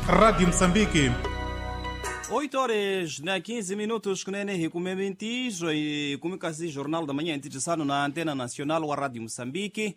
Rádio Moçambique. 8 horas na 15 minutos kunene hi kume mintizo hi kume kasi Jornal da Manhã ntirhisano na Antena Nacional wa Radio Moçambique.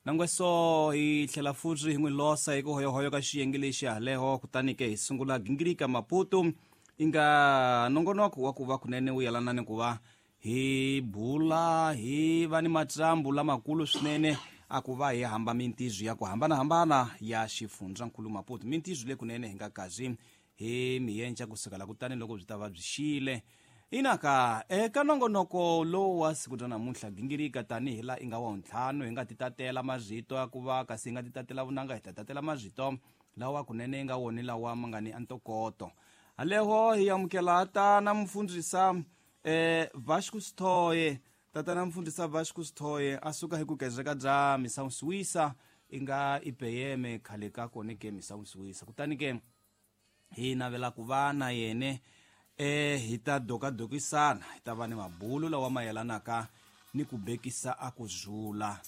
Nangweso hi tlhela futhi hi n'wi losa hi ku hoyohoyo ka xiyenge lexi haleho, kutani ke hi sungula gingirika Maputo i nga nongonoko wa ku va kunene wu yelana ni ku va hi bula hi va ni matsambu lamakulu swinene a ku va hi hamba mintizo ya ku hambanahambana ya xifundzankulu Maputo, mintizo leyi kunene hi nga kazi hi miyenca kusukela kutani loko byi ta va byi xile. Inaka eka nongonoko lowu wa siku ra namuntlha gingirika tanihi laha i nga wa ntlhanu hi nga ti tatela marito ya ku va kasi hi nga ti tatela vunanga, hi ta tatela marito lawa kunene i nga woni lawa ma nga ni ntokoto haleho. Hi amukela tana mufundhisa Vasco Sithoye, tatana mufundhisa Vasco Sithoye a suka hi ku kezeka bya Misawusiwisa i nga IPM khale ka kone ke Misawusiwisa, kutani ke hi navela ku va na yene hi ta dokadokisana, hi ta va ni mabulu lawa ma yelanaka ni ku bekisa a ku zula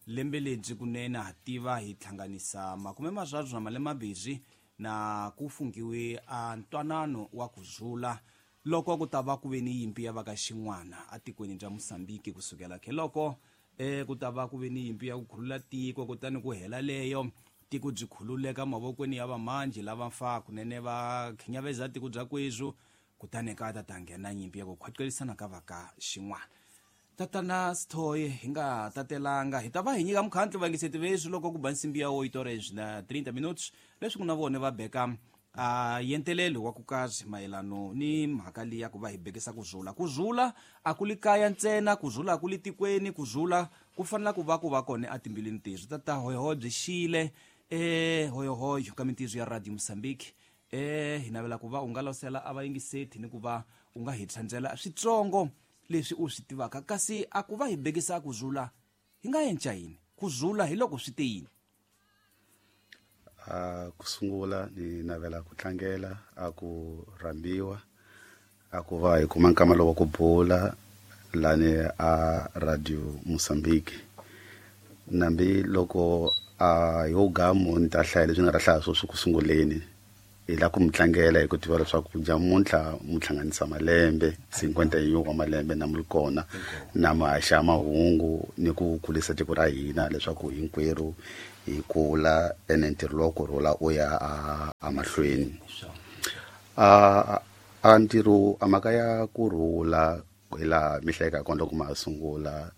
lembe lebyi kunene ha tiva hi hlanganisa 30 na malembe mambirhi na ku fungiwe a ntwanano wa ku zula loko ku ta va ku ve ni yimpi ya va ka xin'wana atikweni bya Mozambique kusukela ke loko ku ta va ku ve ni yimpi ya ku khulula tiko, kutani ku hela leyo tiko byi khululeka mavokweni ya vamanji lava fa kunene va khinyaveza tiko bya kwezwu, kutani ka ta nghena nyimpi ya ku khwaqelisana ka va ka xin'wana. Tatana Sithoye, hi nga tatelanga hi ta va hi nyika mukhandlu vayingiseti veswi loko ku ba nsimbi ya 8 horas na 30 minutes leswi ku na vona va beka a yentelelo wa ku kazi mayelano ni mhaka leyi ya ku va hi bekisa ku zula. Ku zula a ku li kaya ntsena, ku zula a ku li tikweni, ku zula ku fanela ku va ku va kona etimbilwini teswi. Tata hoyohoyo byi xile hoyohoyo ka mintizo ya Radio Mozambique. Hi navela ku va u nga losela a vayingiseti ni ku va u nga hi tsandzela switsongo leswi u swi tivaka, kasi a ku va hi bekisa ku zula hi nga enca yini? Ku zula hi loko swi te yini? Ku sungula ni navela ku tlangela a ku rhambiwa a ku va hi kuma nkama lowu wa ku bula lani a Radio Mozambique. Nambi loko a yo gamu ni ta hlaya leswi nga ta hlaya sweswi ku sunguleni, hi la ku mi tlangela hi ku tiva leswaku nyamuntlha mu hlanganisa malembe 51 wa malembe na mu ri kona na mi haxa mahungu ni ku kulisa tiko ra hina leswaku hinkwerhu hi kula ene ntirho lowa ku rhula u ya a mahlweni. A ntirho a mhaka ya ku rhula hi laha mi hlayeka kona loko ma ha sungula,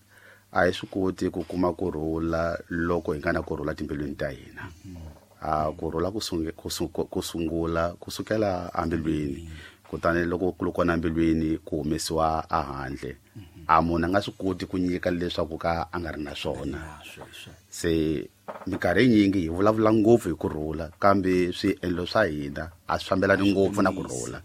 a hi swi koti ku kuma ku rhula loko hi nga na ku rhula timbilwini ta hina. A ku rhula ku sungula kusukela embilwini, kutani loko ku ri kona embilwini ku humesiwa ehandle. A munhu a nga swi koti ku nyika leswaku ka a nga ri na swona. Se minkarhi yinyingi hi vulavula ngopfu hi ku rhula, kambe swiendlo swa hina a swi fambelani ngopfu na ku rhula.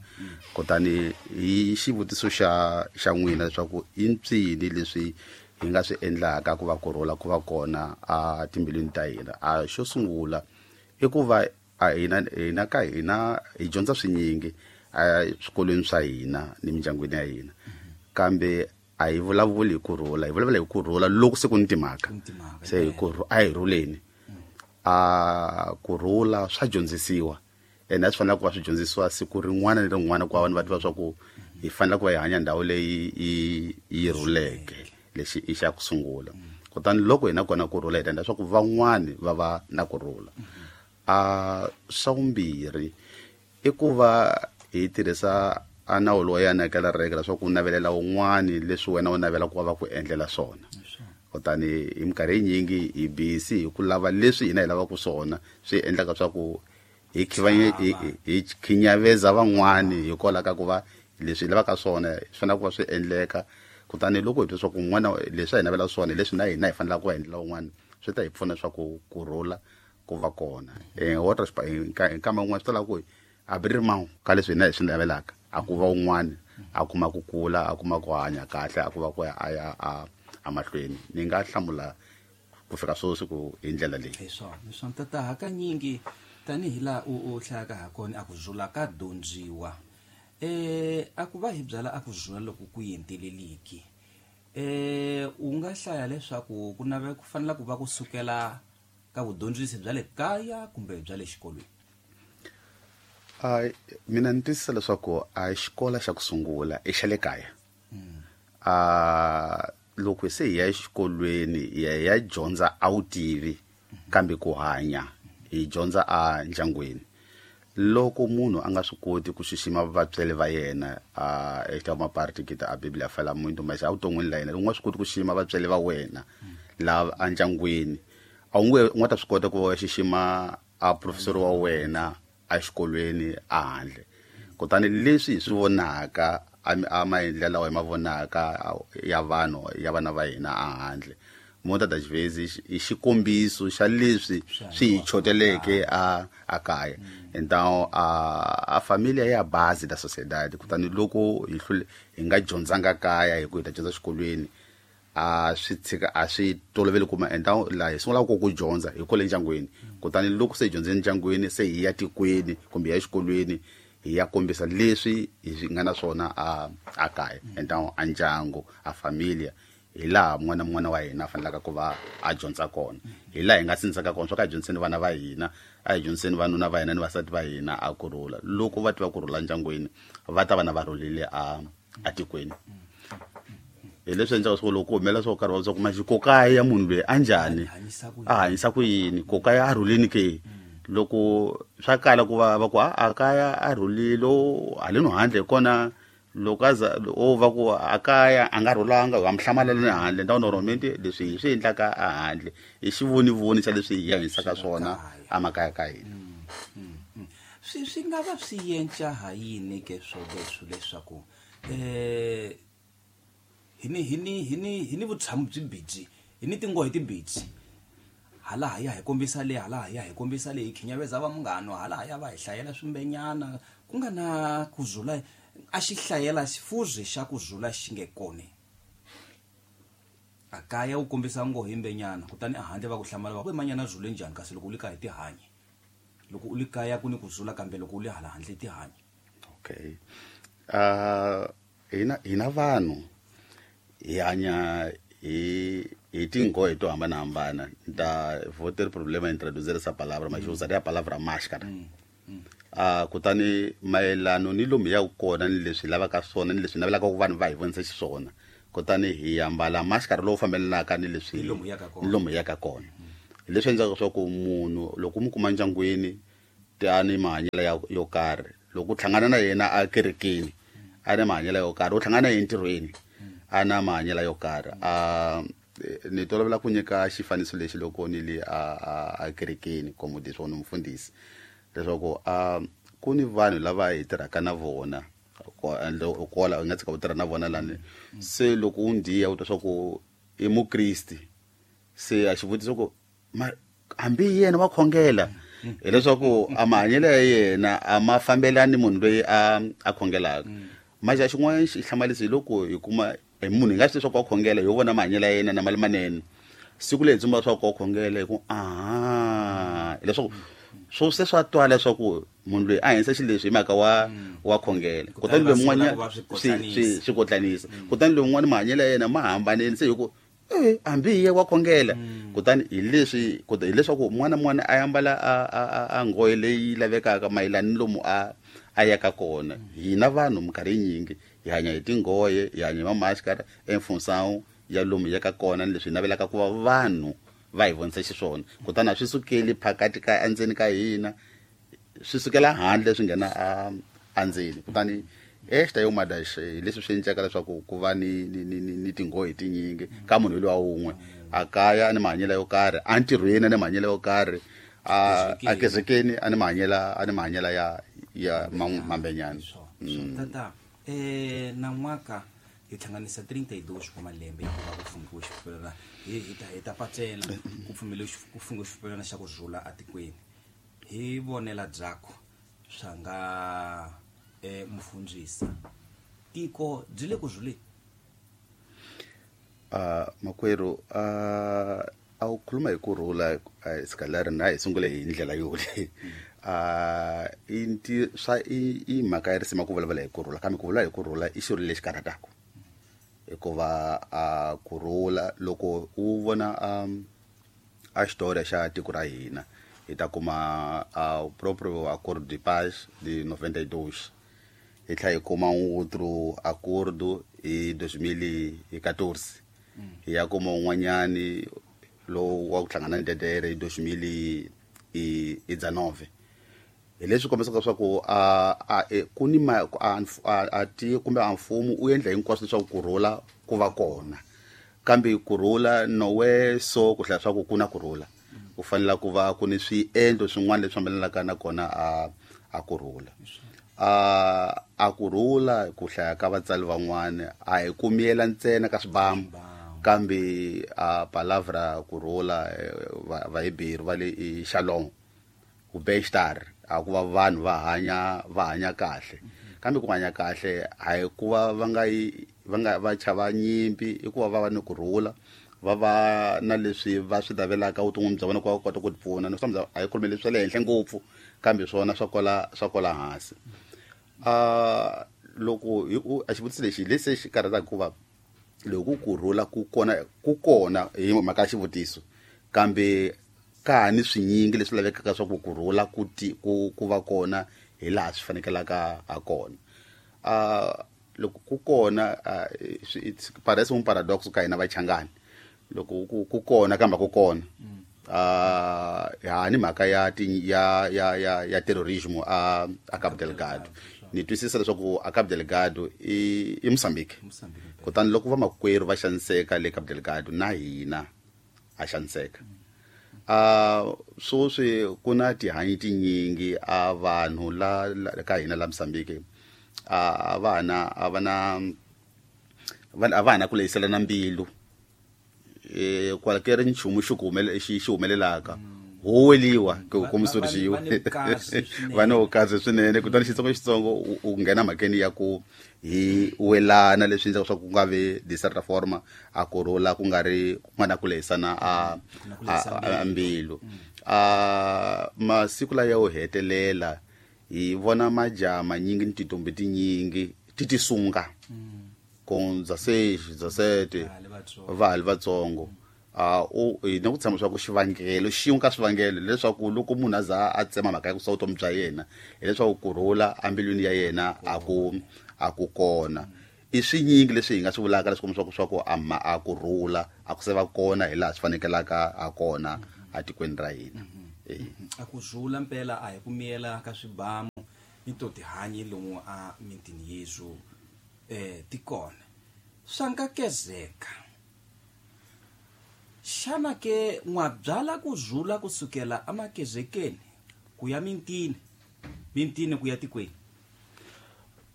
Kutani hi xivutiso xa n'wina leswaku i mpsini leswi hi nga swi endlaka ku va ku rhula ku va kona a timbilwini ta hina, a xo sungula i ku va a hina ka hina hi dyondza swinyingi eswikolweni swa hina ni mindyangwini ya hina, kambe a hi vulavuli hi ku rhula, hi vulavula hi ku rhula loko se ku ni timhaka. Se hi ku a hi rhuleni. A ku rhula swa dyondzisiwa ene a swi fanele ku va swi dyondzisiwa siku rin'wana ni rin'wana ku va vanhu va tiva swa ku hi fanele ku va hi hanya ndhawu leyi yi rhuleke. Lexi i xa ku sungula. Kutani loko hina kona ku rhula hi ta endla leswaku van'wani va va na ku rhula. A swa vumbirhi i ku va hi tirhisa a nawu lowu ya nakela reke leswaku u navelela un'wani leswi wena u navela ku va va ku endlela swona. Kutani hi minkarhi yinyingi hi busy hi ku lava leswi hina hi lavaka swona, swi endlaka swa ku hi hi khinyaveza van'wani hikwalaho ka ku va leswi hi lavaka swona swi fanele ku va swi endleka. Kutani loko hi twa swa ku un'wana leswi a hi navela swona hi leswi na hina hi fanelaka ku va endlela un'wana, swi ta hi pfuna swa ku ku rhula ku va kona. Hi nkama wun'wana swi ta lava ku a bi ri mawu ka leswi hina hi swi navelaka, a ku va un'wana a kuma ku kula, a kuma ku hanya kahle, a ku va ku ya a ya a mahlweni. Ni nga hlamula ku fika sweswi ku hi ndlela leyi. Hi swona, hi swona tata. Hakanyingi tanihi laha u hlayaka ha kona a ku zula ka dyondziwa, a ku va hi byala a ku zula loko ku yenteleliki, u nga hlaya leswaku ku nave ku fanela ku va ku sukela ka vudyondzisi bya le kaya kumbe bya le xikolweni? Mina ni twisisa leswaku a xikolo xa ku sungula i xa le kaya. Loko se hi ya exikolweni hi ya hi ya dyondza a wu tivi, kambe ku hanya hi dyondza a ndyangwini. Loko munhu a nga swi koti ku xixima vatswari va yena, eka maparti kita a Biblia fala muito, mas evuton'wini la yena u nga swi koti ku xixima vatswari va wena lava endyangwini, a wu nge u nga ta swi kota ku va xixima a professor wa wena exikolweni a handle. Kutani leswi hi swi vonaka a maendlelo lawa hi ma vonaka ya vanhu ya vana va hina a handle, muitas das vezes i xikombiso xa leswi swi hi choteleke a kaya. Então a família é a base da sociedade. Kutani loko hi hlule hi nga dyondzanga kaya hi ku hi ta dyondza xikolweni, a swi tshika a swi toloveli kuma. Então laha hi sungulaka ku dyondza hi kwale ndyangwini. Kutani loko se hi dyondze ndyangwini, se hi ya tikweni kumbe hi ya exikolweni, hi ya kombisa leswi hi swi nga na swona a kaya. Então a ndyangu, a família, hi laha n'wana n'wana wa hina a fanelaka ku va a dyondza kona, hi laha hi nga sindzisaka kona swa ka hi dyondziseni vana va hina, a hi dyondziseni vanuna va hina ni vasati va hina a kurhula. Loko va tiva kurhula ndyangwini, va ta va na va rhulile a tikweni. Hi leswi endlaka swo loko ku humelela swo karhi va swa ku maxi kokaya ya munhu loyi a njhani, a hanyisa ku yini, kokaya a rhulini ke. Loko swa kala ku va va ku a kaya a rhulile, haleno handle hi kona loko a za o va ku a kaya a nga rhulanga, wa mi hlamalela ni handle. Então normalmente leswi hi swi endlaka a handle i xivonivoni xa leswi hi hanyisaka swona emakaya ka hina. Swi nga va swi yenca ha yini ke swoleswo leswaku hi ni vutshamo byi biji, hi ni tinghohe tibiji, hala ha ya hi kombisa le, hala ha ya hi kombisa le, hi khinyaveza va munghano, hala ha ya va hi hlayela swimbenyana, ku nga na ku zula a xi hlayela xifuzi xa ku zula xi nge kone a kaya, u kombisa nghohe yimbenyana, kutani a handle va ku hlamala, va ku manyana zule njhani, kasi loko u le kaya hi tihanyi, loko u le kaya ku ni ku zula, kambe loko u le hala handle tihanyi. Okay, hina vanhu hi hanya hi tinghohe to hambanahambana. Nta vou ter problema em traduzir essa palavra, mas usaria a palavra máscara. Kutani mayelano ni lomu hi yaka kona, ni leswi hi lavaka swona, ni leswi hi navelaka ku vanhu va hi vonisa xiswona, kutani hi ambala máscara lowu fambelanaka ni leswi Ni lomu hi yaka kona. Ni lomu hi yaka kona. Hi leswi endlaka leswaku munhu loko u mu kuma ndyangwini tani mahanyelo ya yo karhi, loko u hlangana na yena a kerekeni a na mahanyelo yo karhi, u hlangana na yena entirhweni a na mahanyelo yo karhi. A ni tolovela ku nyika xifaniso lexi loko ni le a kerekeni, como diz wona mufundhisi, leswaku a ku ni vanhu lava hi tirhaka na vona kwala, u nga tshika u tirha na vona lani. Se loko u ndiya u twa swa ku i mukristi, se a xivutiso ku ma hambi yena wa khongela, hileswaku a mahanyelo ya yena a ma fambelani munhu loyi a khongelaka. Manje xin'wana xi hlamarisa hi loko hi kuma hi munhu hi nga swi leswaku wa khongela, hi vona mahanyelo ya yena na mali manene, siku leyi hi tsumba leswaku wa khongela, hi ku aha, hileswaku swo se swa twala leswaku munhu loyi a hanyisa xileswi hi mhaka wa khongela. Kutani loyi mun'wanyana swi kotlanisa, kutani loyi mun'wana mahanyelo ya yena ma hambanile, se hi ku hambi hi ye wa khongela. Kutani hi leswi hileswaku n'wana n'wana a ambala a nghohe leyi lavekaka mayelana ni lomu a yaka kona. Hina vanhu minkarhi yinyingi hi hanya hi tinghohe, hi hanya hi mamaskara em função ya lomu hi yaka kona ni leswi hi navelaka ku va vanhu va hi vonisa xiswona. Kutani a swi sukeli phakati ka endzeni ka hina, swi sukela handle swi nghena a andzeni. Kutani esta é uma das hi leswi swi endlaka leswaku ku va ni tinghohe tinyingi ka munhu loyi wa wun'we. A kaya a ni mahanyelo yo karhi, entirhweni a ni mahanyelo yo karhi, a kerekeni a ni mahanyelo ya mambenyana. Tata, nan'waka hi hlanganisa 32 wa malembe ya ku va ku fungiwe xipfumelana, hi ta pacela ku pfumeliwe ku fungiwe xipfumelana xa ku rhula atikweni. Hi vonela byakho swa nga mufundhisi, tiko byi le ku rhuleni? Makwerhu, a wu khuluma hi ku rhula, se na hi sungule hi ndlela yole. I nti swa i mhaka ya risima ku vulavula hi ku rhula, kambe ku vulavula hi ku rhula i xilo lexi karhataka, hikuva a ku rhula loko u vona a xitori xa tiko ra hina Hi ta kuma o próprio Acordo de Paz de 92. Hi tlhela hi kuma outro acordo hi 2014. Hi ya kuma un'wanyani lowu wa ku hlangana ni DDR hi 2019. Hi leswi kombisaka leswaku a ku ni a ti kumbe a mfumo u endla hinkwaswo leswaku kurhula ku va kona, kambe kurhula nowe so ku hlaya swa ku ku na kurhula ku fanele ku va ku ni swiendlo swin'wana leswi fambelanaka na kona a kurhula. A kurhula ku hlaya ka vatsali van'wana a hi kumiyela ntsena ka swibamu, kambe a palavra kurhula Vahebheru va le i shalom, ku bem-estar, a ku va vanhu va hanya kahle. Kambe ku hanya kahle a hi ku va va nga yi va nga va chava nyimpi, i ku va va va ni kurhula, va va na leswi va swi navelaka vuton'wini bya vona ku va kota ku tipfuna. Ni swi a hi khulumeli leswi swa le henhla ngopfu, kambe swona swa kwala hansi. Loko hi a xivutiso lexi lexi xi karhataka hikuva loko kurhula ku kona hi mhaka ya xivutiso, kambe ka ha ni swinyingi leswi lavekaka swa ku kurhula ku va kona hi laha swi fanekelaka ha kona. Loko ku kona it's parece un paradox ka hina vachangani, loko ku kona kambe ku kona ha ni mhaka ya ya terrorismo a Cabo Delgado. Ni twisisa leswaku a Cabo Delgado i Mozambique, kutani loko vamakwerhu va xaniseka le Cabo Delgado na hina a xaniseka. Sweswi ku na tihanyi tinyingi a vanhu la ka hina la Mozambique a va na ku lehiselana mbilu. Kwala nchumu xi xi humelelaka huweliwa ku kombisa xi va ni vukazi swinene, kutani xitsongo u nghena mhakeni ya ku hi welana leswi endlaka swa ku nga vi de certa forma a kurhula ku nga ri ku nga na ku lehisana a mbilu. Masiku laya yo hetelela hi vona majaha manyingi ni tintombi tinyingi ti tisunga com 16, 17 va ha li vatsongo. Hi na ku tshama swa ku xivangelo xin'we ka swivangelo leswaku loko munhu a za a tsema mhaka ya ku sa vutomi bya yena hileswaku kurhula embilwini ya yena a ku kona. I swinyingi leswi hi nga swi vulaka leswi kombisaka swa ku a kurhula a ku se va kona hi laha swi fanekelaka ha kona etikweni ra hina. A ku rhula mpela a hi ku miyela ka swibamu ni to tihanyi lomu a mitini yesu tikona swa nkakezeka. Xana ke n'wabyala ku rhula kusukela amakezekeni ku ya mintini, mintini ku ya tikweni?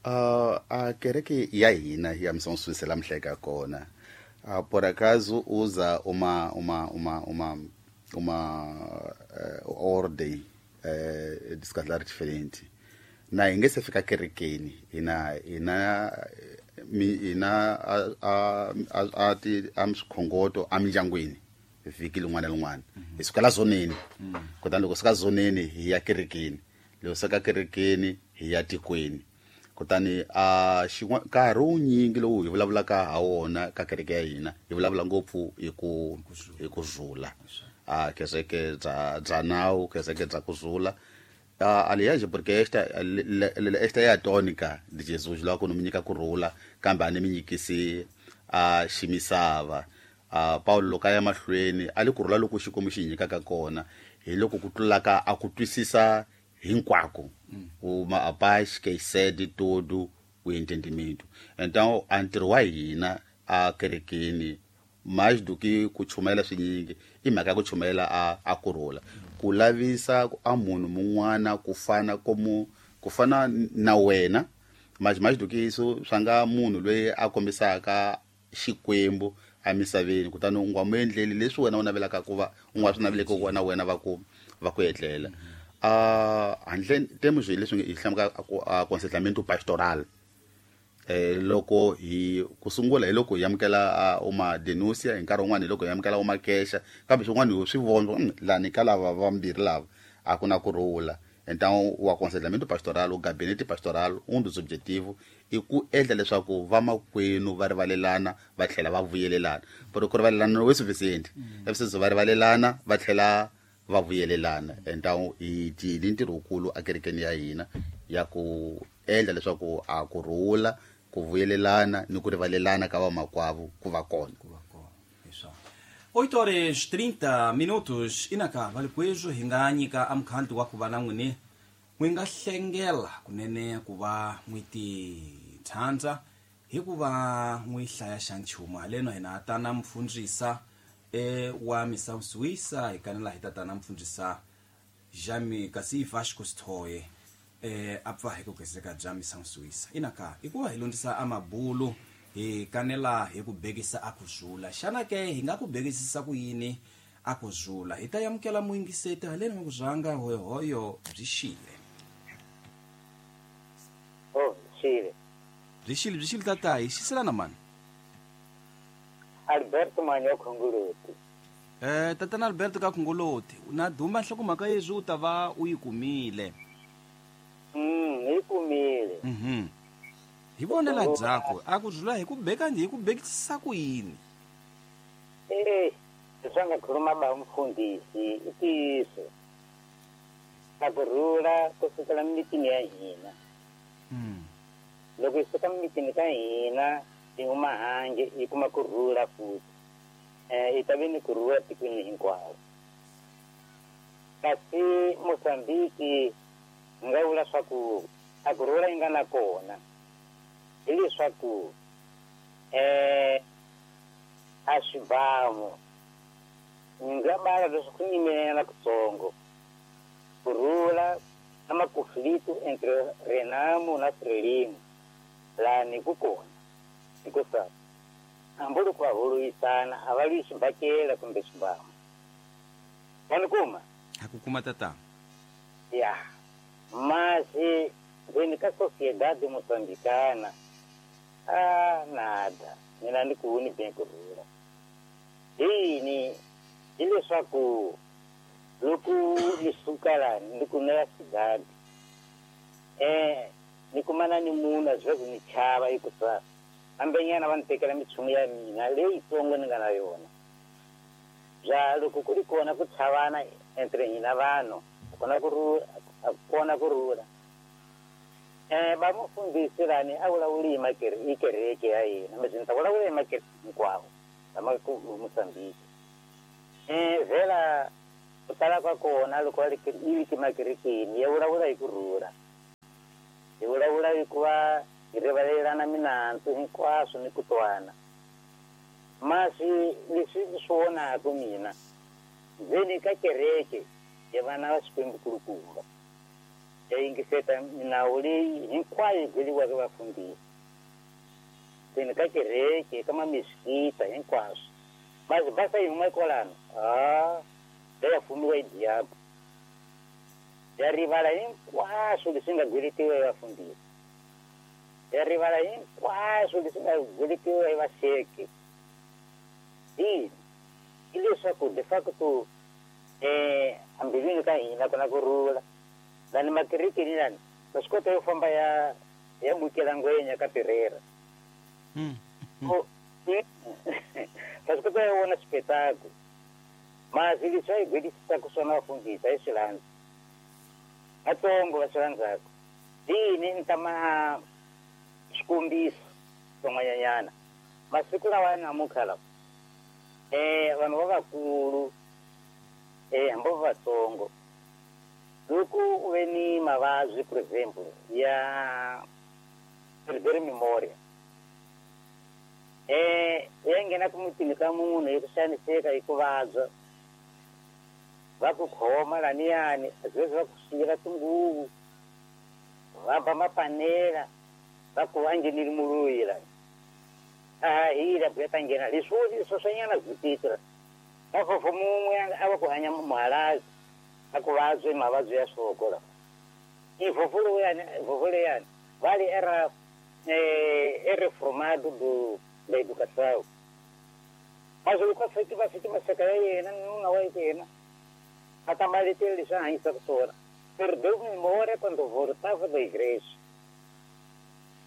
A kereke ya hina ya Missão Suíça la mhleka kona por acaso usa uma ordem descaslar diferente. Na hi nge se fika kerekeni hina a ti a swikhongoto emindyangwini vhiki lin'wana na lin'wana. Hi suka la zoneni, kutani loko suka zoneni hi ya kerekeni, loko suka kerekeni hi ya tikweni. Kutani a nkarhi wunyingi lowu hi vulavulaka ha wona ka kereke ya hina hi vulavula ngopfu hi ku rhula. A kereke bya nawu, kereke bya ku rhula. Aliás, porque esta é a tônica de Jesus, logo no minyika kurhula kambe a ni mi nyikisi a ximisava. Paulo loko a ya mahlweni a li kurhula loko Xikwembu xi nyikaka kona hi loko ku tlulaka a ku twisisa hinkwako, uma a paz que excede todo o entendimento. Então a ntirho wa hina a kerekeni mais do que ku chumayela swinyingi i mhaka ya ku chumayela a kurhula, ku lavisa a munhu mun'wana ku fana komu ku fana na wena, mais do que isso swa nga munhu loyi a kombisaka Xikwembu emisaveni, kutani u nga mu endleli leswi wena u navelaka ku va u nga swi naveleki ku va na wena va ku etlela. Handle temos leswi hi hlamaka aconselhamento pastoral. Loko hi ku sungula hi loko hi amukela uma denúncia, hi nkarhi wun'wana hi loko hi amukela uma queixa, kambe swin'wana hi swi vona lani ka lava vambirhi lava a ku na kurhula. Então o aconselhamento pastoral, o gabinete pastoral, um dos objetivos i ku endla leswaku vamakwenu va rivalelana va tlhela va vuyelelana. Porque ku rivalelana no é suficiente, é preciso va rivalelana va tlhela va vuyelelana. Entawu hi ni ntirho wukulu ekerekeni ya hina ya ku endla leswaku a ku rhula, ku vuyelelana ni ku rivalelana ka vamakwavo ku va kona. 8 horas 30 minutos inaka valikwezo hi nga nyika amukhanti wa ku va na n'wini n'wi nga hlengela kunene ku va n'wi titshandza hikuva n'wi hlaya xa nchumu haleno hina tana mfundzisa wa misawusiwisa hi kanela hi tatana mfundzisa Jami kasi Vasco Sithoye a pfa hi ku gezeka bya misawusiwisa inaka hikuva hi lundzisa amabulu hi kanela hi ku bekisa a ku zula xana ke hi nga ku bekisisa ku yini a ku zula hi ta yamukela muyingiseti haleni wa ku zanga hoyohoyo byi xile. Oh, xile. Byi xile, byi xile tata, hi xiselana mani? Alberto Manyo Khongoloti. Tatana Alberto ka Khongoloti, na duma nhlokomhaka yezwi u ta va u yi kumile. Yi kumile. Hi vonela byakho a ku zula hi ku beka hi ku bekisisa ku yini? Leswi a nga khuluma ba mfundhisi i ntiyiso. A ku rhula ku sukela mimitini ya hina. Loko hi suka mimitini ka hina hi huma handle hi kuma ku rhula futhi. Hi ta ve ni ku rhula tikweni hinkwaro. Kasi Mozambiki hi nga vula swa ku a ku rhula yi nga na kona hileswaku a swibamu ni nga bala leswaku ku nyimelela kutsongo ku rhula na makonflito entre Renamo na Frelimo lani ku kona hikusa hambi loko va holovisana a va lwi xibakela kumbe swibamu. Wa ni kuma? Ha ku kuma tata. Ya masi ndzeni ka Sociedade Moçambicana a nada mina ni ku ni beng ku rhula. Yini hileswaku loko ni suka lani ni ku ya cidade ni kumana ni munhu a zwi ni chava hikusa hambenyana va ni tekela minchumu ya mina leyitsongo ni nga na yona. Bya loko ku ri kona ku chavana entre hina vanhu kona ku rhula, kona ku rhula. Va mufundhisi lani a vulavuli hi kereke ya yena mbe ni ta vulavula hi makereke hinkwawo lama ku Mozambique. Vhela ku tala ka kona loko va ri yi makerekeni ya vulavula hi ku rhula. Hi vulavula hi ku va hi rivalelana minandzu hinkwaswo ni ku twana. Masi leswi ni swi vonaka mina ndzeni ka kereke ya vana va Xikwembu kulukumba ya yingiseta minawu leyi hinkwayo yi byeriwaka vafundhisi ndzeni ka kereke ka mamisikita hinkwaswo. Masi basa yi huma kwalano ya fumiwa hi diabo ya rivala hinkwaswo leswi nga gweletiwa hi vafundhisi, ya rivala hinkwaswo leswi nga gweletiwa hi vaxeke. Yini hileswaku de facto ambilwini ka hina ku na ku rhula lani makerekeni lani va swi kota yo famba ya bukela ngwenya ka Pereira. Va swi kota yo vona xipetaku. Masi leswi a hi gwelisisaka swona vafundhisi a hi swi landza vatsongo va swi landzaka. Yini ni ta ma xikombiso swin'wanyanyana masiku lawa ya namuntlha lawa vanhu va vakulu hambi va vatsongo loko u ve ni mavabyi for example ya perder memoria ya nghena ku mutini ka munhu hi ku xaniseka hi ku vabya va ku khoma laniyani sweswi va ku siyela tinguvu va ba mapanela va ku va nghenile muluyi lani a hila buya ta nghena leswi swoswanyana byi va fofo mun'we a va ku hanya muhalazi a ku vabye mavabyi ya swoko la i fofo lowuyani vale era reformado do da educação. Mas loko va fiki maseka ya yena nuna wa yena a ta maletela leswi a hanyisaka swona. Perdeu memória quando voltava da igreja.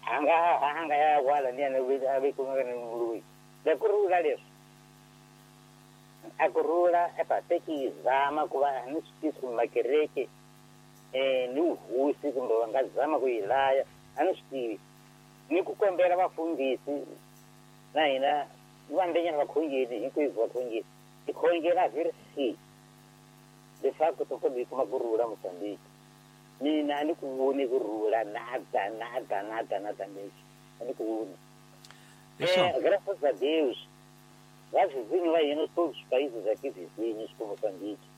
Anga ya wala ni ana ve kumeka ni muluyi. Da ku rhula leswi. A ku rhula epateki zama ku va ni swi tivi makereke ni uhosi kumbe va nga zama ku yi laya a ni swi tivi ni ku kombela vafundhisi na hina vambenyana vakhongeli hinkwenu vakhongeli hi khongela versi leswaku to kota hi kuma ku rhula Mozambique. Mina a ni ku voni ku rhula nada nada nada nada lexi a ni ku voni. Graças a Deus, va vizinho va hina todos os países aqui vizinhos com Moçambique.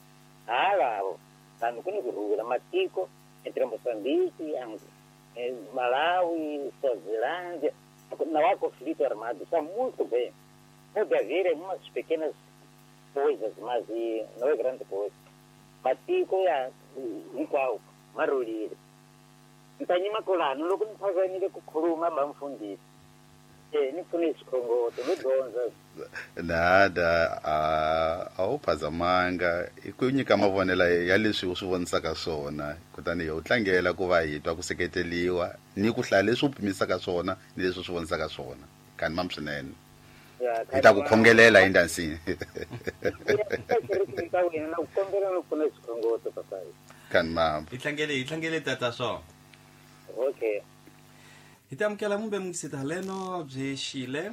Lavo, vanhu ku ni ku rhula matiko entre Moçambique, Malawi, Suazilândia, não há conflito armado, está muito bem. Pode haver algumas pequenas coisas, mas não é grande coisa. Matiko ya hinkwawo ma rhulile. Ntanyima kulano loko ni phazamile ku khuluma ba mfundhisi. Ni pfune xikhongoto ni dyondza. Nada a wu phazamanga i ku nyika mavonelo ya leswi u swi vonisaka swona kutani hi u tlangela ku va hi twa ku seketeliwa ni ku hlaya leswi u pimisaka swona ni leswi u swi vonisaka swona kani mam swinene hi ta ku khongelela hi ndansini kani mam hi tlangele tata swo okay hi ta amukela mumbe mungisita leno byi xile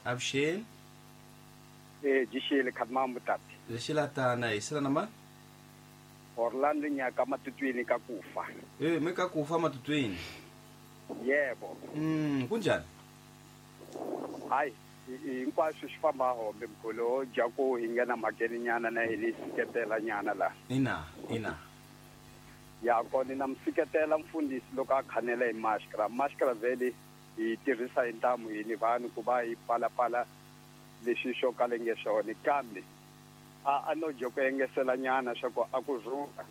avuxeni byi xile khatimambu tati byi xila tana hi sila na mani Orlando nyaka matutwini ka kufa mi ka kufa matutwini yebo kunjani hayi hinkwaswo swi famba hombe mkhulu jaku hi nghena mhakeni nyana na hi ni siketela nyana la ina ya kona na msiketela mfundhisi loko a khanela hi mashkra vele hi tirhisa hi ntamu hi ni vanhu ku va hi palapala leswi swo kala nge swona kambe a no joko engesela nyana swa ku a ku rhula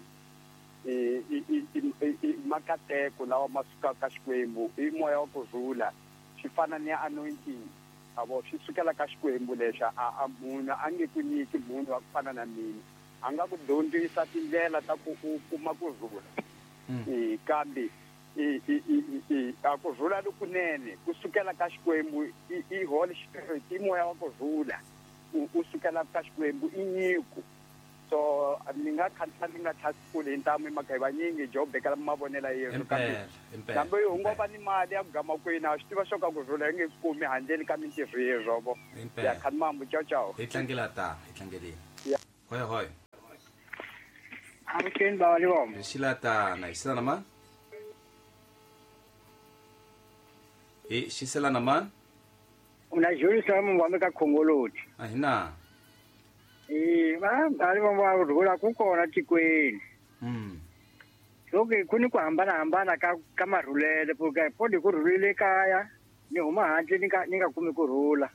i makateko lawa ma sukaka ka Xikwembu i moya wa ku rhula swi fana ni anointing avo swi sukela ka Xikwembu lexa a munhu a nge ku nyiki munhu wa ku fana na mina a nga ku dyondzisa tindlela ta ku u kuma ku rhula kambe a ku rhula lokunene ku sukela ka Xikwembu i Holy Spirit i moya wa ku rhula u sukela ka Xikwembu i nyiko so ni nga khansa ni nga tlhasi kule hi ntamu hi mhaka hi vanyingi jo bekela mavonela yesu kambe u ngo va ni mali ya ku gama kwini a swi tiva swo ka ku rhula yi nge kumi handleni ka mintirho yerhovo ya khanimambu ciao ciao hi tlangela ta hi tlangeleni hoy hoy avuxeni bava livombo hi xila tana hi xila na mani hi xisela na mani una Julius wa ka Khongoloti a hi na va livombo va rhula ku kona tikweni loko ku ni ku hambanahambana ka marhulele podi ku rhulile kaya ni huma handle ni nga kumi ku rhula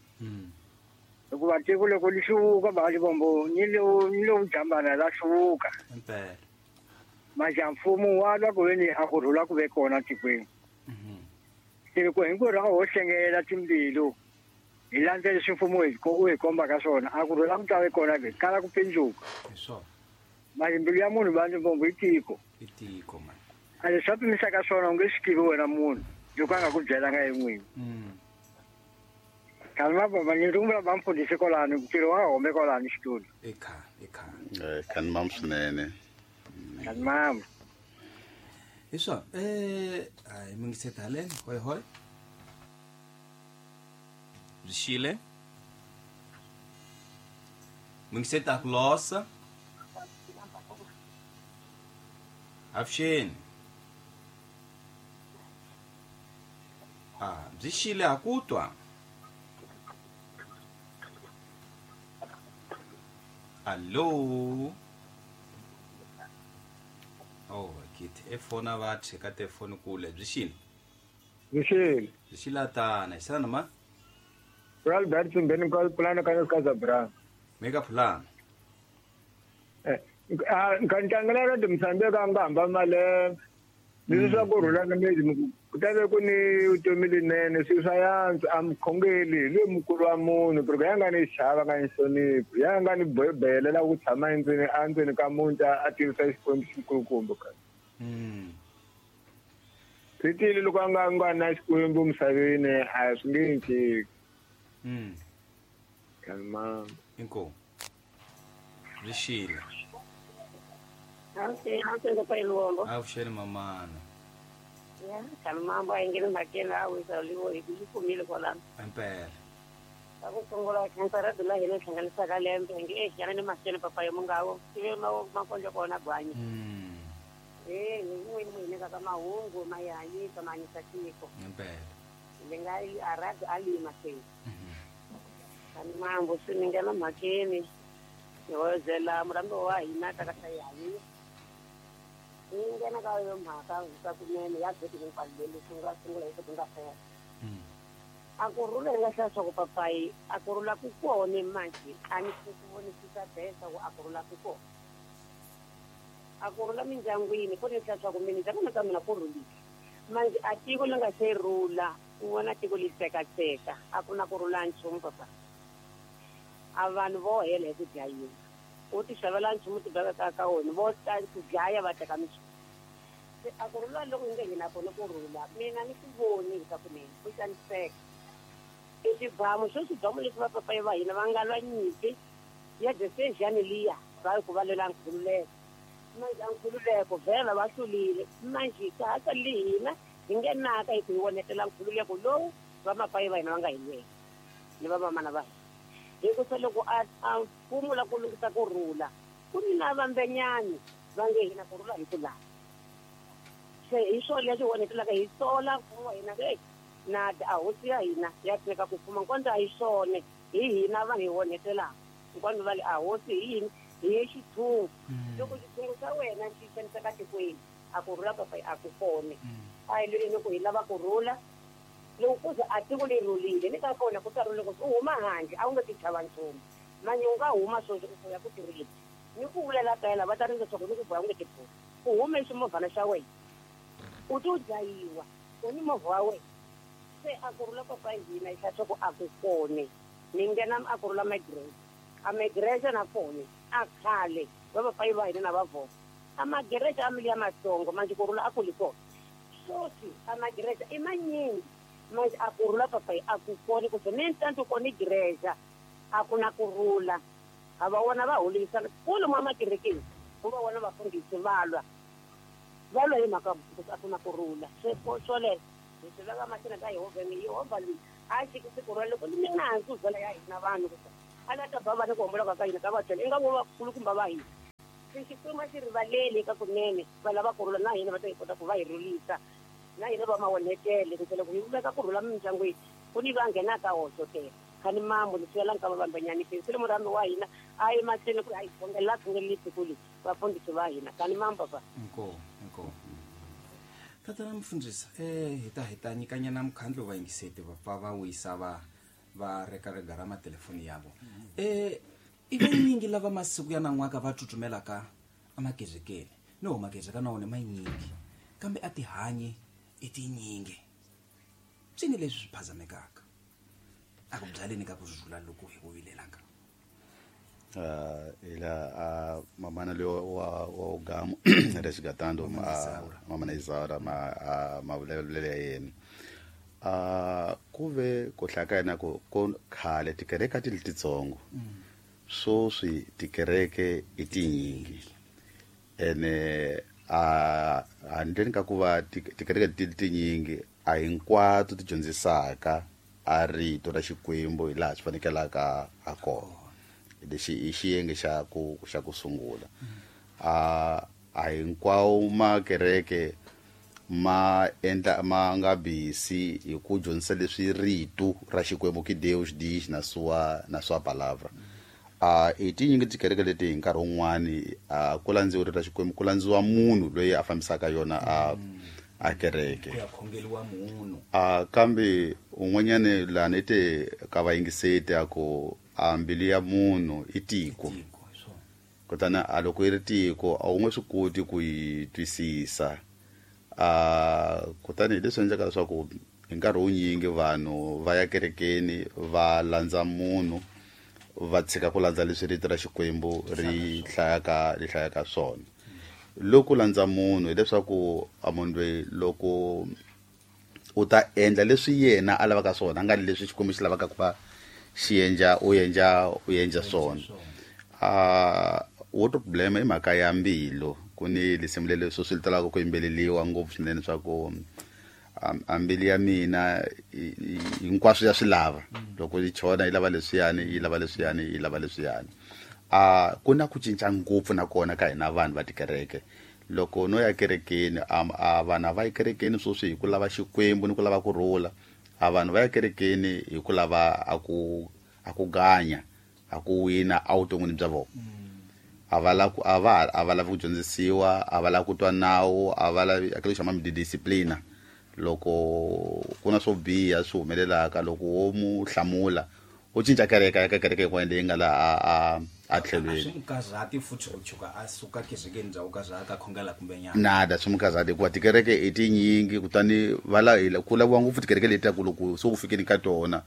hikuva tiko loko li hluvuka va livombo ni lo jambana la hluvuka maja mfumo wa lwa ku veni a ku rhula ku ve kona tikweni se loko hinkwerhu a ho hlengelela timbilu hi landza leswi mfumo u hi kombaka swona a ku rhula ku ta ve kona ke kala ku pindzuka mali mbilu ya munhu va livombo i tiko a leswi a pimisaka swona u nge swi tivi wena munhu loko a nga ku byelanga ye n'wini kanti mababa ni rungula va mfundhisi kwalano ntirho wa home kwalano xitulu kani mam swinene kani mam hi swona hayi mingiseta haleni hoy hoy byi xile mingiseta ku losa avuxeni byi xile ha ku twa allo oh kit efona va cheka telefoni kule byi xile byi xila tana hi xana ma Albert Simbeni ka pulana ka ka Zabra meka pulana ka ntangela ra Mozambique ka nga hamba malembe leswi swa ku rhula na mezi ku ta ve ku ni vutomi linene swilo swa yantswa a mukhongeli hi loyi mukulu wa munhu porque ya nga ni xava nga ni hloniphi ya nga ni boyelela ku tshama endzeni ka muti a tivisa Xikwembu xikulukumba ka Swi tile loko a nga na Xikwembu misaveni a swi nge endleki. Kalma. Inkomu. Rixile. Avuxeni mamana. Ya, kalmambo a yi nge le mhakeni a wisa livo hi yi kumile kwalano. Impela. Ka ku sungula khensa radio la hina hlanganisaka lembe nge exana ni mahlweni papa yo mungawo tive makondlo kona gwanyi. Hi n'wini mu hi nyikaka mahungu ma hi hanyisa ma hanyisa tiko. Impela. Ni nga a radio a li mahlweni. Kani mambo swi ni nghena mhakeni ni hoyozela murambi wa hina ta ka hi hanyisa. Ni nghena ka yo mhaka swa kunene ya vhiki hinkwalo leri sungula sungula hi ku nga fela. A ku rhula hi nga hlaya swa ku papayi a ku rhula ku kona manje a ni ku vonisisa besa ku a ku rhula ku kona. A ku rhula mindyangwini ku ni hlaya swa ku mina ka mina ku rhulile. Manje a tiko li nga se rhula u vona tiko li tsekatseka a ku na ku rhula nchumu papa. A vanhu vo hela hi ku dlayiwa. U ti xavela nchumu ti beka ka wona vo ta ku dlaya va teka minchumu. Se a ku rhula loko hi nge hina kona ku rhula mina ni ku voni hi ka kunene ku xaniseka. I swibamu swo swibamu leswi vapapayi va hina va nga lwa nyimpi ya Desejani liya va ku va lwela nkhululeko. Manje a nkhululeko vhela va hlulile manje ka ha sali hina hi ngenaka hi ku hi vonetela nkhululeko lowu vamapayi va hina va nga hi lwela ni vamamana va hina. Hi ku se loko a mfumo la ku lunghisa ku rhula ku ni na vambenyani va nge hina ku rhula hi ku lava. Se hi swona leswi vonetelaka hi sola mfumo wa hina na a hosi ya hina ya teka ku fuma nkondzo a hi swona hi hina vanhu hi vonetelaka nkondzo va le a hosi hi yini hi xithungu loko xithungu xa wena xi xaniseka tikweni a ku rhula papa a ku kone a hi lweni ku hi lava ku rhula loko ku ze a tiko leri rhulile ni ka kona ku ta rhula loko u huma handle a wu nge ti chava nchumu manje u nga huma sweswi u ya ku tirheni ni ku vulela kayela va ta rindza swa ku ni ku boha u nge ti bohi u hume ximovhana xa wena u to dlayiwa u ni movha wa wena. Se a ku rhula papa hina hi hlaya ku a ku kone ni nghena a ku rhula migrate a migrate na kone a khale va papayi va hina na va vona a migrate a mili ya matsongo manje ku rhula a ku li kona sweswi a migrate i manyingi manje a ku rhula papayi a ku kone ku se ni ntanto kone greza a ku na ku rhula a va vona va holisana kulu mwa makerekeni ku va vona vafundhisi va lwa hi mhaka a ku na ku rhula se swoleswo hi swi veka mahlweni ka Yehovha ni Yehovha loyi a xikisi ku rhula loko ni nandzu vhela ya hina vanhu ku a la ta ba vana ku homboloka ka hina ka va byela i nga vo vakulukumba va hina se Xikwembu a xi rivaleli ka kunene va lava ku rhula na hina va ta hi kota ku va hi rhulisa na hina va mawonetele ku loko hi veka ku rhula mindyangwini ku ni va nghenaka hoxotela khani mambo ni siyela nka va vambenyani se le murhambi wa hina a yi mahlweni ku a yi khongelela khongeleli siku leyi vafundhisi va hina khani mambo papa. Inkomu inkomu. Tatana mfundhisi hi ta nyikanyana mukhandlu va yingiseti va pfa va wisa va reka ra matelefoni yavo. I vanyingi lava masiku ya nan'waka va tsutsumelaka amakezekeni no makezeka na wona manyingi kambe a tihanyi i tinyingi swini leswi swi phazamekaka a ku byaleni ka ku rhula loko hi ku vilelaka. Ila mamana leo wa ugamu resigatando mamana Isaura ma vulavulele ya yena ku ve ku hlakana ku khale tikereke a ti li titsongo sweswi tikereke i tinyingi ene a handleni ka ku va tikereke ti tinyingi a hinkwato ti dyondzisaka a rito ra Xikwembu hi laha swi fanekelaka ha kona. Lexi i xiyenge xa ku sungula. A hinkwawo makereke ma endla ma nga bisi hi ku dyondzisa leswi rito ra Xikwembu ki Deus diz na sua palavra. I tinyingi tikereke leti hi nkarhi wun'wani ku landziwa rito ra Xikwembu ku landziwa munhu loyi a fambisaka yona a kereke. Ku ya khongeliwa munhu. Kambe un'wanyani lani te ka vayingiseti a ku a mbilu ya munhu i tiko. Kutani a loko yi ri tiko a wu nge swi koti ku yi twisisa. Kutani hi leswi endlaka leswaku hi nkarhi wunyingi vanhu va ya kerekeni va landza munhu va tshika ku landza leswi rito ra Xikwembu ri hlayaka swona. Loko landza munhu hileswaku a munhu loyi loko U ta endla leswi yena a lavaka swona, a nga leswi Xikwembu xi lavaka ku va xi endla, u endla swona. Outro problema i mhaka ya mbilu. Ku ni lisimu leri swi talaka ku yimbeleriwa ngopfu swinene swa ku a mbilu ya mina hinkwaswo ya swi lava. Loko yi chona yi lava leswiyani, yi lava leswiyani, yi lava leswiyani. Ku na ku cinca ngopfu nakona ka hina vanhu va tikereke. Loko no ya kerekeni, a vanhu a va yi kerekeni sweswi hi ku lava Xikwembu ni ku lava ku rhula. A vanhu va ya kerekeni hi ku lava a ku ganya, a ku wina evuton'wini bya vona. A va lavi a va lavi ku dyondzisiwa, a va lavi ku twa nawu, a va lavi a xa disciplina. Loko ku na swo biha swi humelelaka, loko wo mu hlamula u cinca kereke ya ka kereke yin'wana leyi nga laha a tlhelweni. Swi mukarhati futhi ku chuka a suka kerekeni bya ku karhata a khongela kumbe nyana. Nada, swi mukarhati hikuva tikereke i tinyingi, kutani va la ku laviwa ngopfu tikereke leti ta ku loko se u fikini ka tona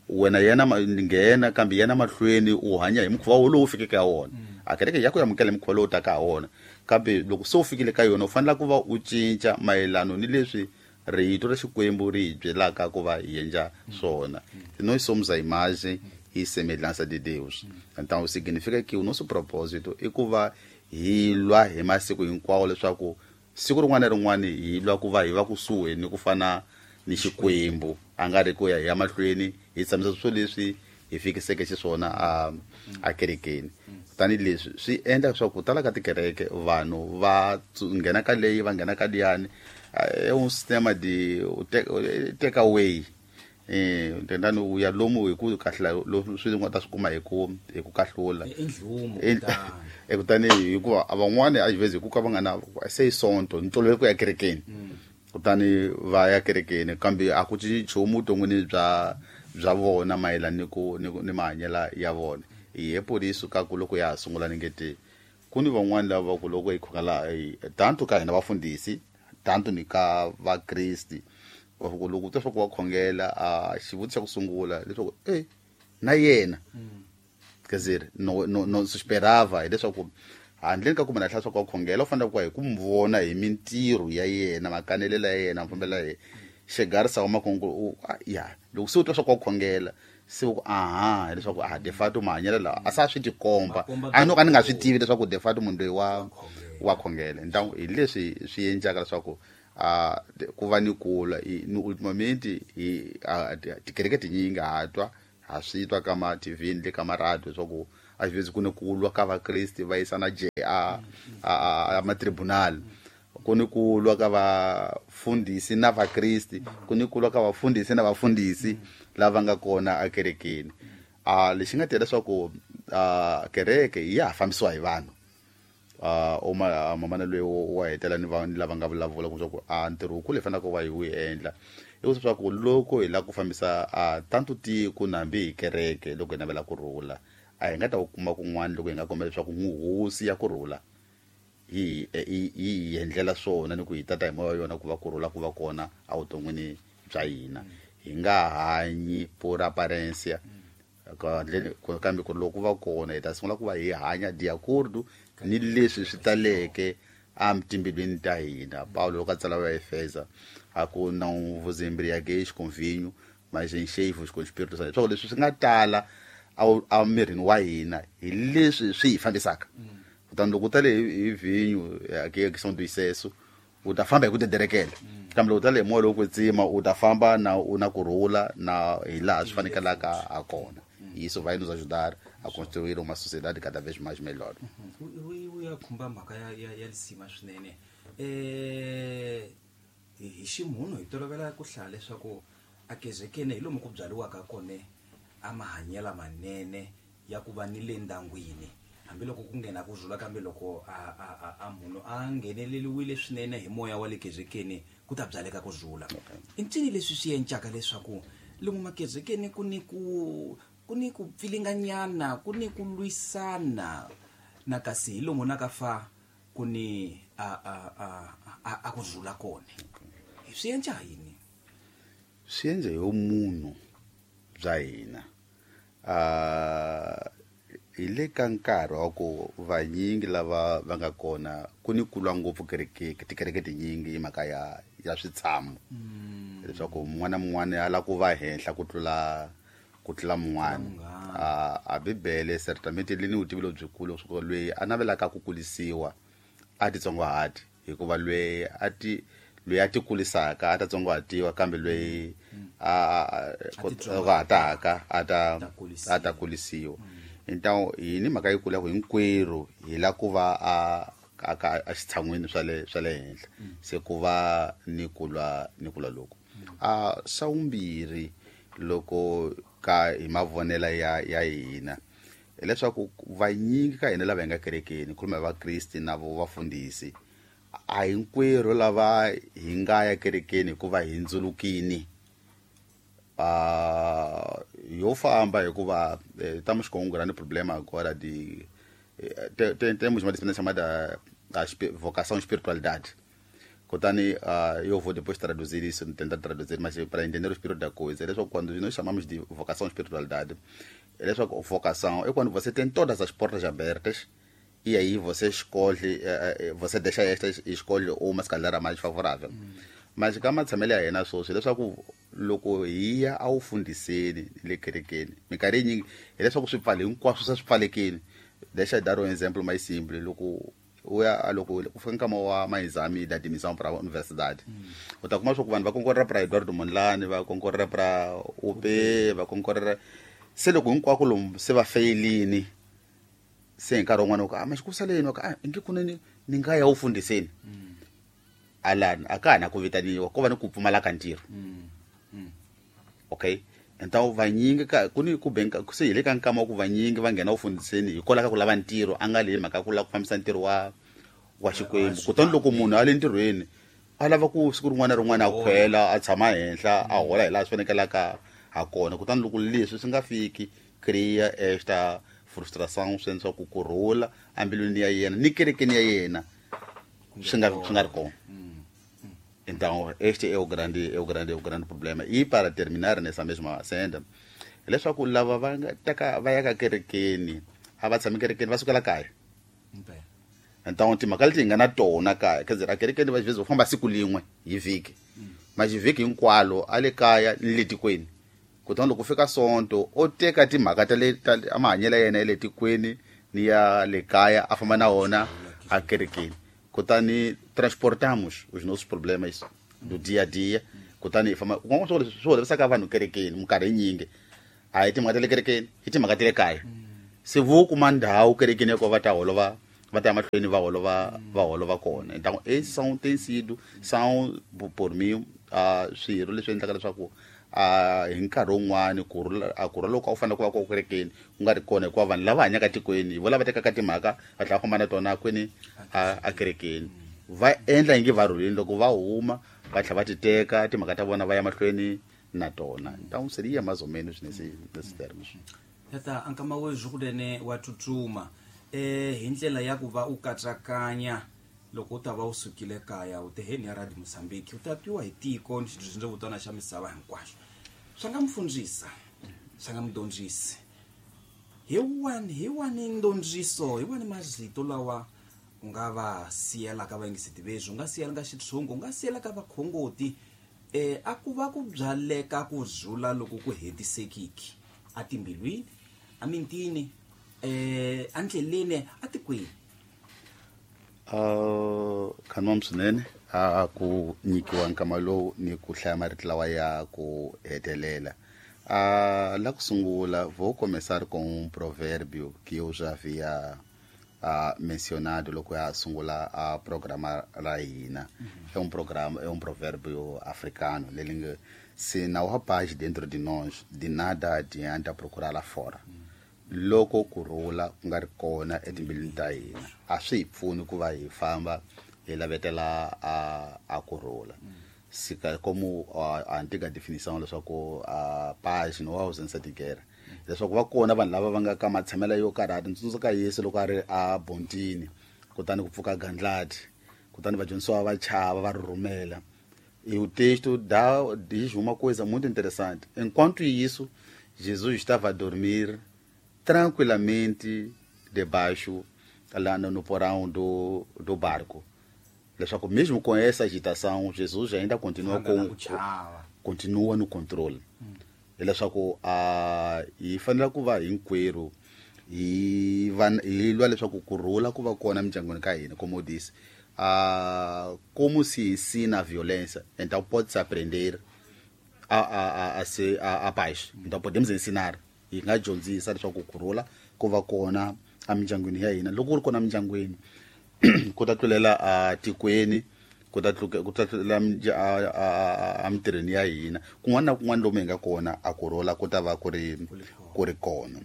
wena yena nghena, kambe yena mahlweni u hanya hi mukhuva wolowo u fikeke ha wona. A kereke ya ku amukela hi mukhuva lowu taka ha wona, kambe loko se u fikile ka yona u fanele ku va u cinca mayelano ni leswi rito ra Xikwembu ri hi byelaka ku va hi endla swona. Nós somos a imagem e semelhança de Deus. Então significa que o nosso propósito i ku va hi lwa hi masiku hinkwawo leswaku siku rin'wana na rin'wana hi lwa ku va hi va kusuhi ni ku fana ni Xikwembu, a nga ri ku ya hi ya mahlweni hi tshamisa swilo leswi hi fikiseke xiswona a kerekeni. Tani leswi swi endla leswaku ku tala ka tikereke vanhu va nghena ka leyi, va nghena ka liyani, é um sistema de take away. Tendani u ya lomu hi ku kahlula swi nga ta swi kuma hi ku kahlula. Kutani hikuva van'wani a vhezi hi ku ka va nga na se sonto ni tolovele ku ya kerekeni. Kutani va ya kerekeni, kambe a ku cinci nchumu vuton'wini bya vona mayelana ni ku ni mahanyelo ya vona. Hi por isso ka ku loko ya ha sungula ni nge te ku ni van'wani lava ku loko hi khongela tanto ka hina vafundhisi, tanto ni ka vakresti, loko u twa swa ku va khongela, a xivutiso xa ku sungula leswaku na yena quer dizer, no se esperava hileswaku handleni ka ku munhu a hlaya swa ku va khongela, u fanele ku va hi ku n'wi vona hi mintirho ya yena, makanelelo ya yena, mafambelo ya yena. Chegar-se a uma ya loko se u twa swa ku va khongela, se u ku aha, hileswaku de fato mahanyelo lawa a sa swi tikomba, a no ka ni nga swi tivi leswaku de fato munhu loyi wa khongela. Então hi leswi swi endlaka leswaku ku va ni kula ni ultimamente hi tikereke tinyingi ha twa, ha swi twa ka ma TV ni le ka maradio leswaku a xivezi ku ni ku lwa ka vakresti va yisana a matribunal, ku ni ku lwa ka vafundhisi na vakresti, ku ni ku lwa ka vafundhisi na vafundhisi lava nga kona ekerekeni. Lexi nga tela leswaku kereke ya ha fambisiwa hi vanhu. Mamana loyi wa hetela ni vanhu lava nga vulavula ku swa ku ntirho wukulu hi faneleke ku va hi wu endla i ku leswaku loko hi lava ku fambisa tanto tiko na hambi hi kereke, loko hi navela ku rhula, a hi nga ta wu kuma kun'wana loko hi nga kombela leswaku hosi ya ku rhula hi hi endlela swona ni ku hi tata hi moya wa yona ku va ku rhula ku va kona evuton'wini bya hina. Hi nga hanyi por aparência, kambe ku loko va kona hi ta sungula ku va hi hanya de acordo ni leswi swi taleke etimbilwini ta hina. Paulo loko a tsala va Efesa a ku não vos embriagueis com vinho, mas enchei-vos com o Espírito Santo. Leswaku leswi swi nga tala emirini wa hina hi leswi swi hi fambisaka. Kutani loko u tale hi vhinyo ya questão do excesso, u ta famba hi ku dederekela. Kambe loko u tale hi moya lowo kwetsima, u ta famba na u na ku rhula na hi laha swi fanekelaka ha kona. Isso vai nos ajudar a construir uma sociedade cada vez mais melhor. U ya khumba mhaka ya lisima swinene. Hi ximunhu hi tolovela ku hlaya leswaku a kezekeni hi lomu ku byariwaka kona a mahanyelo manene ya ku va ni le ndyangwini, hambiloko ku nghena ku rhula, kambe loko a munhu a ngheneleliwile swinene hi moya wa le kezekeni ku ta byaleka ku rhula. I ncini leswi swi encaka leswaku lomu makezekeni ku ni ku pfilinganyana, ku ni ku lwisana, na kasi hi lomu na ka fa ku ni a ku rhula kona? Swi enca yini? Swi endla hi munhu bya hina. Hi le ka nkarhi wa ku vanyingi lava va nga kona ku ni kulwa ngopfu kereke, tikereke tinyingi hi mhaka ya switshamo. Leswaku mun'wana na mun'wana a lava ku va henhla ku tlula mun'wana. A Bibele certamente li ni vutivi lebyikulu leswaku loyi a navelaka ku kulisiwa a titsongahati, hikuva loyi a ti kulisaka a ta tsongahatiwa, kambe loyi a hataka a ta kulisiwa. Então hi ni mhaka yikulu ya ku hinkwerhu hi la ku va a xitshan'wini swa le henhla, se ku va ni ku lwa loko. Xa vumbirhi loko ka hi mavonela ya hina hileswaku vanyingi ka hina lava hi nga kerekeni, khuluma hi vakriste na vo vafundhisi, a hinkwerhu lava hi nga ya kerekeni hikuva hi ndzulukini. Yo famba hikuva estamos com um grande problema agora de temos uma disciplina chamada vocação espiritualidade. Kutani eu vou depois traduzir isso, tentar traduzir, mas para entender o espírito da coisa, é só quando nós chamamos de vocação espiritualidade, é só vocação é quando você tem todas as portas abertas e aí você escolhe, você deixa estas e escolhe uma se calhar a mais favorável. Mas ka matshamelo ya hina sweswi leswaku loko hi ya a wu fundhiseni le kerekeni minkarhi yinyingi hileswaku swipfalo hinkwaswo swa swi pfalekile. Deixa eu dar um exemplo mais simples. Loko u ya loko ku fika nkama wa maexame da admissão para a universidade, u ta kuma leswaku vanhu va konkorera para Eduardo Mondlane, va konkorera para UP, va konkorera se loko hinkwako lomu se va feyilini, se hi nkarhi wun'wana u ku mas ku saleni wa ku inge kunene ni nga ya wu fundhiseni. Alani a ka ha na ku vitaniwa ko va ni ku pfumala ka ntirho. Okay, então vanyingi ka ku ni ku benka se hi le ka nkama wa ku vanyingi va nghena ufundhiseni hikwalaho ka ku lava ntirho, a nga le mhaka ku lava ku fambisa ntirho wa Xikwembu. Kutani loko munhu a le ntirhweni a lava ku siku rin'wana na rin'wana a khwela a tshama henhla a hola hi laha swi fanekelaka ha kona. Kutani loko leswi swi nga fiki, cria esta frustração swi endla ku kurhula embilwini ya yena ni kerekeni ya yena swi nga ri kona. Então este é o grande problema. E para terminar nessa mesma senda, leswaku lava va nga teka va ya ka kerekeni a va tshami kerekeni, va sukela kaya. Então timhaka leti hi nga na tona kaya, quer dizer, a kerekeni va vezes va famba siku lin'we hi vhiki, mas vhiki hinkwalo a le kaya ni le tikweni. Kutani loko fika sonto o teka timhaka ta le ta mahanyelo ya yena ya le tikweni ni ya le kaya a famba na wona a kerekeni. Kutani transportamos os nossos problemas do dia a dia. Kutani hi famba kun'wana swi holovisaka vanhu kerekeni minkarhi yinyingi a hi timhaka ta le kerekeni, hi timhaka ta le kaya. Se vo kuma ndhawu kerekeni ya ku va ta holova, va ta ya mahlweni va holova kona. Então esses são tem sido são por mim swirho leswi endlaka leswaku hi nkarhi wun'wani ku rhula loko a wu fanele ku va ko kerekeni ku nga ri kona, hikuva vanhu lava hanyaka tikweni hi vo lava tekaka timhaka va tlhela va famba na tona kwini a kerekeni, va endla ingi va rhulini, loko va huma va tlhela va ti teka timhaka ta vona va ya mahlweni na tona. Então seria mais ou menos nesse termos. Tata ankama wezwi kunene wa tsutsuma hi ndlela ya ku va u katsakanya loko u ta va u sukile kaya u teheni ya Radio Mozambique u ta twiwa hi tiko ni xindzevutana xa misava hinkwaxo. Swa nga mfundzisa, swa nga mudyondzisi, hi wani ndondziso, hi wani mazito lawa u nga va siyelaka vayingiseti veswi, u nga siyelaka xitshungu, u nga siyelaka vakhongoti a ku va ku byaleka ku zula loko ku hetisekiki a timbilwini, a mintini, endleleni, a tikweni. Khanwam swinene a ku nyikiwa nkama lowu ni ku hlaya marito lawa ya ku hetelela. La ku sungula vou começar com um provérbio que eu já havia mencionado loko ya sungula a programa ra hina. É um programa, é um provérbio africano leri nge se não há paz dentro de nós, de nada adianta procurar lá fora. Loko ku rhula ku nga ri kona etimbilwini ta hina a swi hi pfuni ku va hi famba hi lavetela a ku rhula. Sika como a antiga definição leswaku a paz não há ausência de guerra, leswaku va kona vanhu lava va nga ka matshamelo yo karhata. Ndzi tsundzuka Yesu loko a ri a bontini, kutani ku pfuka gandlati, kutani vadyondzisiwa va chava va rhurhumela. E o texto diz uma coisa muito interessante. Enquanto isso, Jesus estava a dormir tranquilamente debaixo, lá no porão do barco. Leswaku mesmo com essa agitação, Jesus ainda continua continua no controle. Hileswaku a hi fanele ku va hinkwerhu hi va hi lwa leswaku ku rhula ku va kona mindyangwini ka hina. Como disse, como se ensina a violência, então pode-se aprender a paz. Então podemos ensinar, hi nga dyondzisa leswaku ku rhula ku va kona emindyangwini ya hina. Loko ku ri kona emindyangwini, ku ta tlulela a tikweni, ku ta tlulela emitirhweni ya hina, kun'wana na kun'wana lomu hi nga kona a ku rhula ku ta va ku ri kona.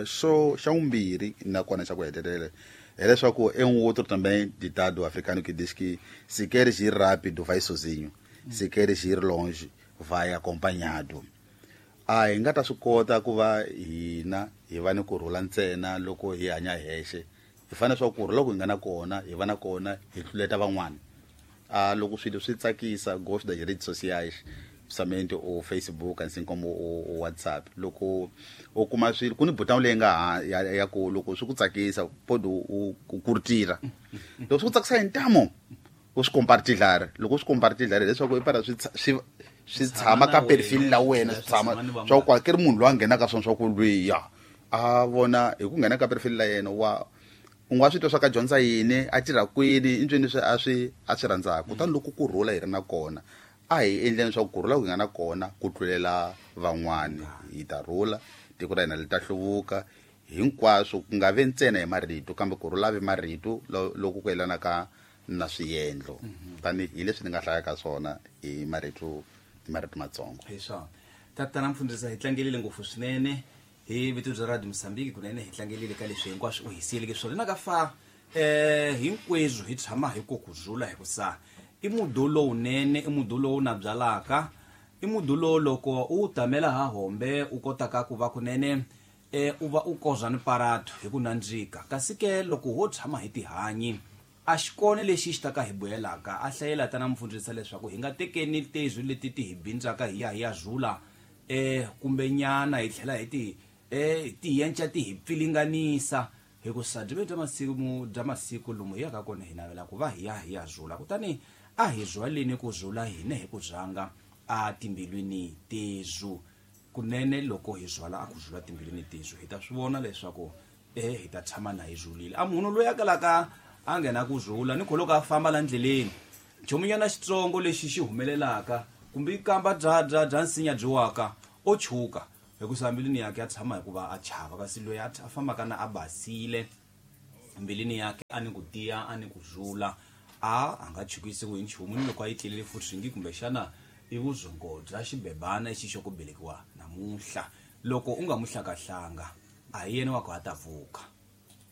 So xa vumbirhi nakona xa ku hetelela hileswaku é um outro também ditado africano que diz que se queres ir rápido vai sozinho, se queres ir longe vai acompanhado. A hi nga ta swi kota ku va hina hi va ni ku rhula ntsena loko hi hanya hexe. Hi fanele swa ku rhula loko hi nga na kona hi va na kona hi tluleta van'wana. Loko swilo swi tsakisa, gosto das redes sociais, principalmente o Facebook, assim como o WhatsApp, loko u kuma swilo ku ni button leyi nga ya ku loko swi ku tsakisa pode u curtira. Loko swi ku tsakisa hi ntamu u swi compartilhar, loko u swi compartilhar leswaku i para swi tshama ka perfil la wena, swi tshama swa ku akeri munhu loyi a nghenaka swona swa ku lwiya a vona hi ku nghena ka perfil la yena wa u nga swi twa swa ka dyondza yini, a tirha kwini, i ncini leswi a swi rhandzaka. Kutani loko ku rhula hi ri na kona, a hi endleni swa ku rhula ku nga na kona ku tlulela van'wani, hi ta rhula, tiko ra hina li ta hluvuka hinkwaswo, ku nga vi ntsena hi marito kambe ku rhula vi marito loko ku yelana ka na swiendlo. Tanihi leswi ni nga hlayaka swona hi marito matsongo. Hi swona tatana mfundhisi, hi tlangelile ngopfu swinene hi vito bya Radio Mozambique, kunene hi tlangelile ka leswi hinkwaswo u hi siyeleke swona. Na ka fa hinkweswo hi tshama hi ku rhula, hi ku sa i mudu lowunene, i mudu lowu na byalaka, i mudu lowu loko u tamela ha hombe u kotaka ku va kunene u va u kozwa ni paratu hi ku nandzika. Kasi ke loko ho tshama hi tihanyi, a xikona lexi xi ta ka hi buyelaka. A hlayela tana mfundhisi leswaku hi nga tekeni tezwi leti ti hi bindzaka hi ya hi ya zula kumbe nyana hi tlhela hi ti ti yenca ti hi pfilinganisa, hi ku sa byi bya masiku lomu hi yaka kona hi navela ku va hi ya hi ya zula. Kutani a hi zwaleni ku zula hina hi ku zanga a timbilwini tezu kunene. Loko hi zwala a ku zula timbilwini tezu, hi ta swi vona leswaku hi ta tshama na hi zulile. A munhu loyi a kalaka a nghena ku zula ni kholoka a famba la ndleleni, nchumunyana xitsongo lexi xi humelelaka kumbe kamba bya nsinya byi waka o chuka, hikusa mbilwini yakhe a tshama hikuva a chava. Kasi loyi a fambaka na a basile mbilwini yakhe, a ni ku tiya, a ni ku zula, a nga chukisiwi hi nchumu. Ni loko a yi tlelele futhi kumbexana i vuzongo bya xibebana lexi xo ku belekiwa namuntlha, loko u nga mu hlakahlanga a hi yena wa ku a ta pfuka.